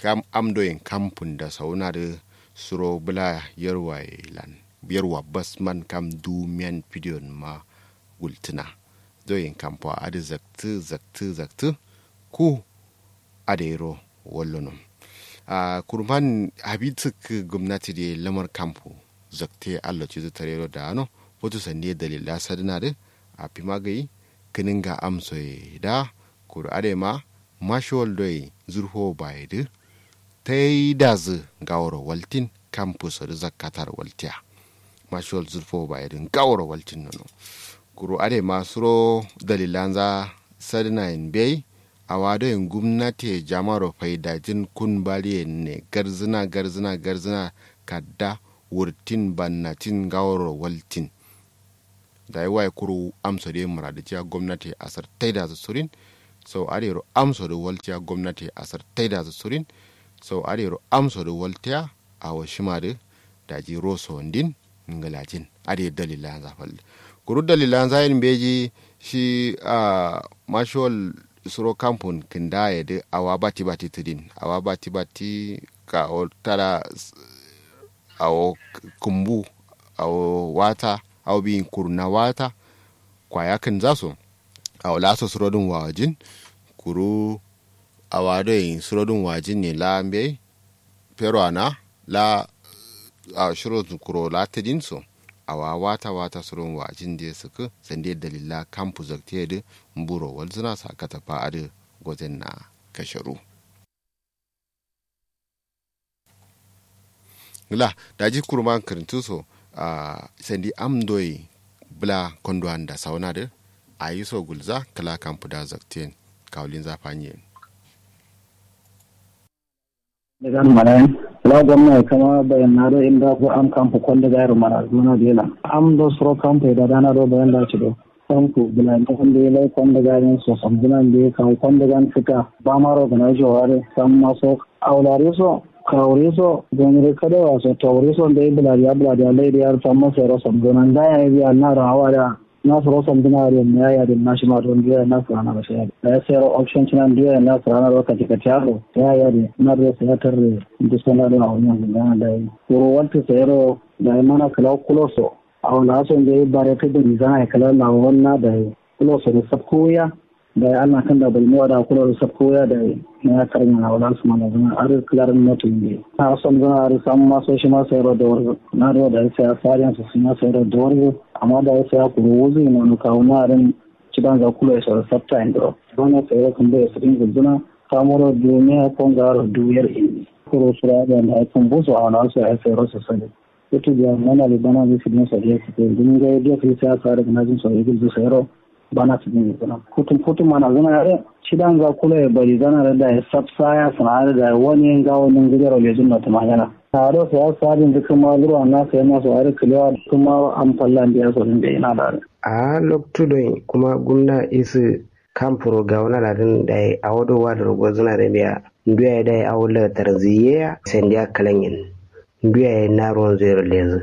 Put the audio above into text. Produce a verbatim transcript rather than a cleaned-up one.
Kam am doyin kampun da sauna dǝ suro bǝla yarwa ye lan yarwa basman kam dumiyan fidiyon ma gultǝna. Doyin kampuwa adǝ zaktǝ zaktǝ zaktǝ ku adǝ yero wallono. Ahh kurman habi sǝkkǝ gumnati dǝ ye lamar kampu zakte allo cizǝ tarero da'ano. Futu sandi ye dalilla sadǝna dǝ afima gai kǝninga amso ye da kuru adai ma mashiwal doi zurfo baye dǝ taidazǝ ngaworo waltin kampu so dǝ zakkataro waltiya. Mashiwal zurfo baye dǝ ngaworo waltin nono. Kuru adai ma suro dalilanza sadǝna yen mbeyi. Awa doi gumnati ye jamaro faidajin kun baliyen ne garzǝna garzǝna garzǝna kadda wurtin bannatin ngaworo waltin. Dayi waye kuru amso dǝ ye muradijiya gomnati ye asar taidazǝ surin. Sau adǝ yero amso dǝ waltiya gomnati ye asar taidazǝ surin. Sau adǝ yero amso dǝ waltiya awo shima dǝ daji roso ndin ngǝlajin. Adǝ ye dalilanza fal dǝ kuru dalilanza yen mbeji. Shi ahh mashiwal suro kampun kǝnda ye dǝ awa bati bati tǝdin awa bati bati kawo tada. Awo kǝmbu awo wata awo biyin kurna wata kwaya kǝnza so. Awo laso surodǝn wajin kuru awa doi surodǝn wajin ne la mbeyi. Fero ana la awo shiro kuro la tǝdin so. Awa wata wata surodǝn wajin dǝ ye sǝkkǝ sandi ye dalilla kampu zakte ye dǝ mburo walzǝna sa katafa adǝ gozenna kasharu. Ngla daji kurman kǝrǝntǝ so. Ahh sandi am doi bǝla kondowan da sauna dǝ ayi so gulza kǝla kampu da zakten. Kawulinza fanyen. Legan manayin kǝla gomna ye kǝma bayanna do inda ko am kampu konde gayiro manazǝna do yelan am do suro kampu ye dadana do bayan da cido. Kampu bǝla nda konde ye lai konde gayin so samzǝna nde kawu konde gan kǝta bamaro gǝna joware samma so. Awo lari so kawuri so gomire kadewa so tawuri so nde bǝladiya bǝladiya lai diya samma sero samzǝna nda yayi biya naro awa da. Na suro samzǝna adǝ yamma yayi adǝ na shima do nduya na sǝrana ro shayadǝ dayi sero option cǝna nduya na sǝrana ro kace kace aro yayi adǝ na duro sai atarre. Ndu sona do awo nyanzǝ ngana dayi kuru waltǝ sai ro dayi mana kǝla kulo so. Awo la so nde bare tǝ dǝ mizana ye kǝla lawo wanna dayi kulo so dǝ sabku wuya. Dayi allah kǝnda bǝlmi wada kulo dǝ sabku wuya dayi. Naya karmina wala sǝmana zǝna adǝ kǝlarǝn moto yimbe na samzǝna adǝ samma so shima sai ro dawar. Na duro dayi sai a sariyan sǝ sima sai ro dawar. Amma dayi sai a kuru wuzu yimano kawu na adǝn. Cidanza kulo ye soro sabta yindiro bana sai ro kǝmbo ye sǝdin gulzǝna. Samuro duwu miya kongaro duwu yar indi kuru sura adǝ yanda ai kǝmbo so awo la so ai sai ro sǝ sǝdin. Futu biya mana li bana nzǝ sǝdin so diya sǝdin ngai diya sǝdin sai a sare gǝnajin so ye gulzǝ sai ro. Bana sǝdin gulzǝna futum futum mana zǝna adǝ. Cidanza kulo ye bari zana dǝ dayi sabsa ya sǝna adǝ dayi wani ye ngawo ningǝdero lejin no tǝmanyana. Ado sai a sare nzǝ kǝma lurwa na sai maso adǝ kǝlewa kǝma am falla ndiya so dǝn dai na da adǝ. Ahh loktu doi kuma gumna isǝ kampuro gawuna ladǝn dayi awo do wadǝ ro gozǝna dǝ biya ndu yayi dayi awo lagatar zǝyi ye ya sai ndiya kǝlanyen. Ndu yayi na ruwanzu yero lezǝ.